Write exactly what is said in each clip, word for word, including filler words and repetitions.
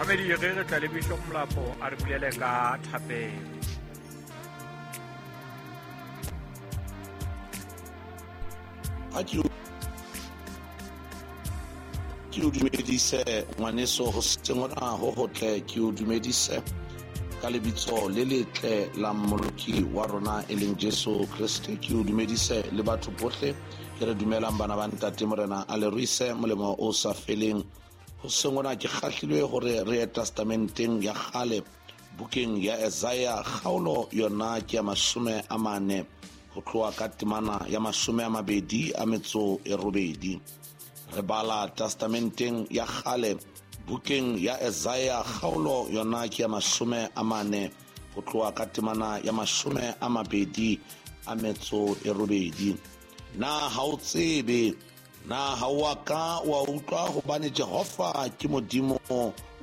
Mamedi re re tla le Bishop Molapo a re bulele ka thapelo. A ke ke o dumedise ngwaneso ho seng hona ho hotle, ke o dumedise ka lebitso le letle la Mmoloki wa rona e leng Jesu Kreste. Ke o dumedise le batho bohle ke re dumelang bana ba Ntate Morena a le ruise molemo o sa feleng. Ho seng hona ke kgahlilwe hore re ye testamenteng ya kgale bukeng ya Isaiah kgaolo yona ke ya mashome a mane ho tloha ka temana ya mashome a mabedi a metso e robedi. Re bala testamenteng ya kgale bukeng ya Isaiah kgaolo yona ke ya mashome a mane ho tloha ka temana ya mashome a mabedi a metso e robedi. Na ha o tsebe, na ha o a ka wa utlwa hobane Jehova ke Modimo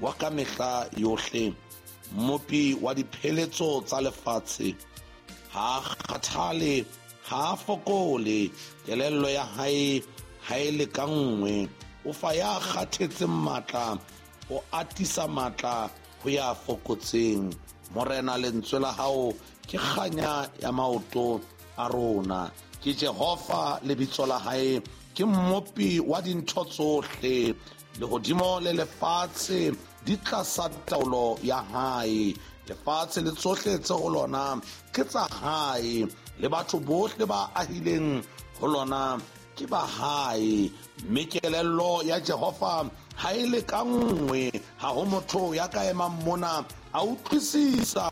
wa ka mehla yohle, Mmopi wa dipheletso tsa lefatshe. Ha a kgathale, ha a fokole, kelello ya hae ha e lekanngwe. O fa ya kgathetseng matla, o atisa matla ho ya fokotseng. Morena, lentswe la hao ke kganya ya maoto a rona. Ke Jehova lebitso la hae, ke Mmopi wa dintho tsohle. Lehodimo le lefatshe di tlasa taolo ya hae. Lefatshe le tsohle tse ho lona ke tsa hae, le batho bohle ba ahileng ho lona ke ba hae. Mme kelello ya Jehova ha e lekanngwe, ha ho motho ya ka emang mona a utlwisisa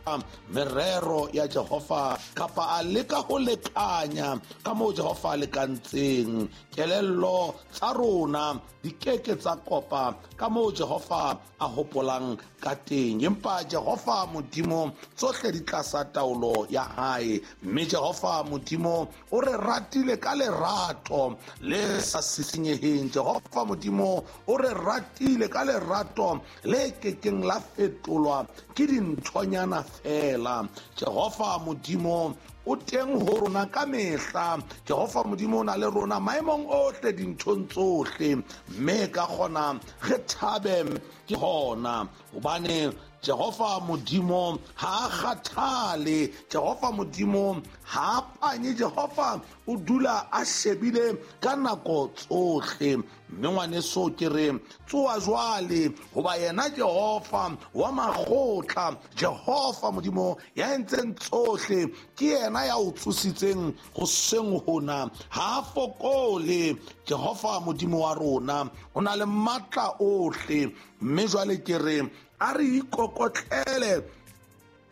merero ya Jehova kapa a leka ho lekanya ka moo Jehova a lekantseng. Kelello tsa rona di keke tsa kopa ka moo Jehova a hopolang ka teng, empa Jehova Modimo tsohle di tlasa taolo ya hae. Mme Jehova Modimo o re ratile ka lerato le sa sisinyeheng. Jehova Modimo o re ratile ka lerato le kekeng la fetolwa ke dinthonyana fela. Jehova Modimo o teng ho rona ka mehla. Jehova Modimo o na le rona maemong ohle, dinthong tsohle, mme ka kgona re thabe ke hona hobane Jehova Modimo ha a kgathale. Jehova Modimo ha a panye. Jehova o dula a shebile ka nako tsohle. Mme ngwaneso ke re tsoha jwale, hoba yena Jehova wa makgotla, Jehova Modimo ya entseng tsohle, ke yena ya o tsositseng hoseng hona. Ha a fokole. Jehova Modimo wa rona o na le matla ohle. Mme jwale ke re a re ikokotlele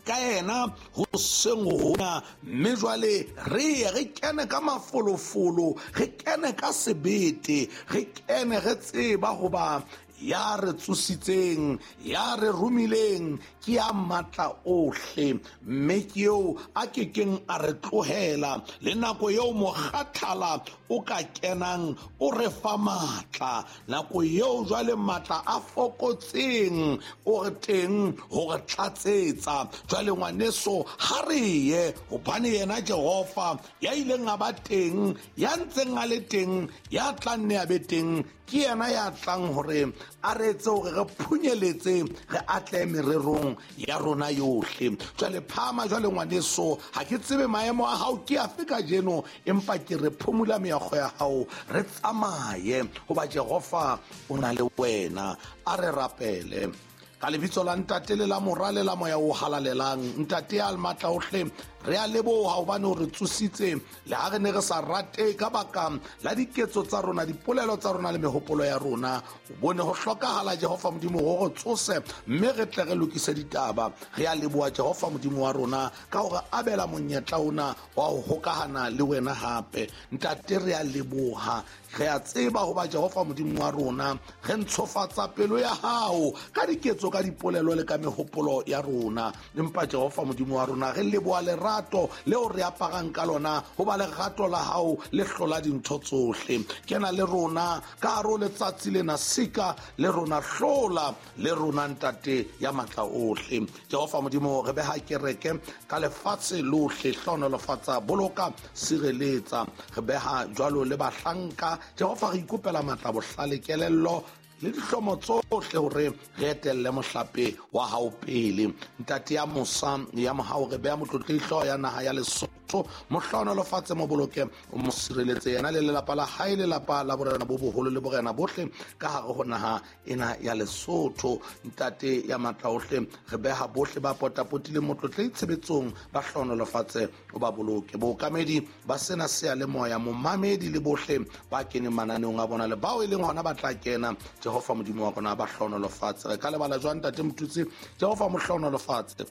ka yena hoseng hona, mme jwale re ye re kene ka mafolofolo, re kene ka sebete, re kene re tseba hoba ya re tsositseng, ya re romileng ke ya matla ohle, mme ke eo a kekeng a re tlohela. Le nako eo mokgathala o ka kenang o re fa matla, nako eo jwale matla a fokotseng o re teng ho re tlatsetsa. Jwale ngwaneso ha re ye, hobane yena Jehova ya ileng a ba teng, ya ntseng a le teng, ya tla nne a be teng, ke yena ya tlang hore a re etse hore re phunyeletse, re atlehe mererong ya rona yohle. Jwale phama jwale ngwaneso, ha ke tsebe maemo a hao ke afe kajeno, empa ke re phumula meokgo ya hao, re tsamaye hoba Jehova o na le wena. A re rapele. Ka lebitso la Ntate le la Mora le la Moya o Halalelang. Ntate ya matla ohle, re a leboha hobane o re tsositse le ha re ne re sa rate ka baka la diketso tsa rona, dipolelo tsa rona le mehopolo ya rona. O bone ho hlokahala Jehova Modimo hore re tsose mme re tle re lokise ditaba. Re a leboha Jehova Modimo wa rona ka hore abela monyetla ona wa ho hokahana le wena hape. Ntate re a leboha, re a tseba hoba Jehova Modimo wa rona re ntshofatsa pelo ya hao ka diketso, ka dipolelo le ka mehopolo ya rona. Empa Jehova Modimo wa rona re leboha lerato leo re aparang ka lona, hoba lerato la hao le hlola dintho tsohle. Kena le rona ka hare ho letsatsi lena, sika le rona, hlola le rona Ntate ya matla ohle. Jehova Modimo re beha kereke ka lefatshe lohle, hlohonolofatsa, boloka, sireletsa. Re beha jwalo le bahlanka. Jehova re ikopela matla, bohlale, kelello le dihlomo tsohle hore re etelle mohlape wa hao pele. Ntate ya mosa ya mohau, re beha motlotlehi hlooho ya naha ya Lesotho, mo hlohonolofatse, mo boloke, o mo sireletse yena le lelapa la hae, lelapa la borena bo boholo le borena bohle ka hare ho naha ena ya Lesotho. Ntate ya matla ohle, re beha bohle ba potapotileng motlotlehi tshebetsong, ba hlohonolofatse, o ba boloke. Bookamedi ba sena seyalemoya, momamedi le bohle ba keneng mananeong a bona le bao e leng hona ba tla kena, Jehova Modimo wa rona ba hlohonolofatse. Re ka lebala jwang ntate Motutsi? Jehova mo hlohonolofatse,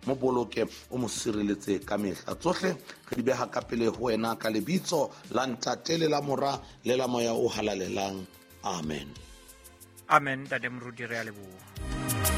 mo boloke, o mo sireletse ka mehla. Tsohle re di beha ka pele ho wena ka lebitso la Ntate le la Mora le la Moya o Halalelang. Amen. Amen, ntate Moruti, re a leboha.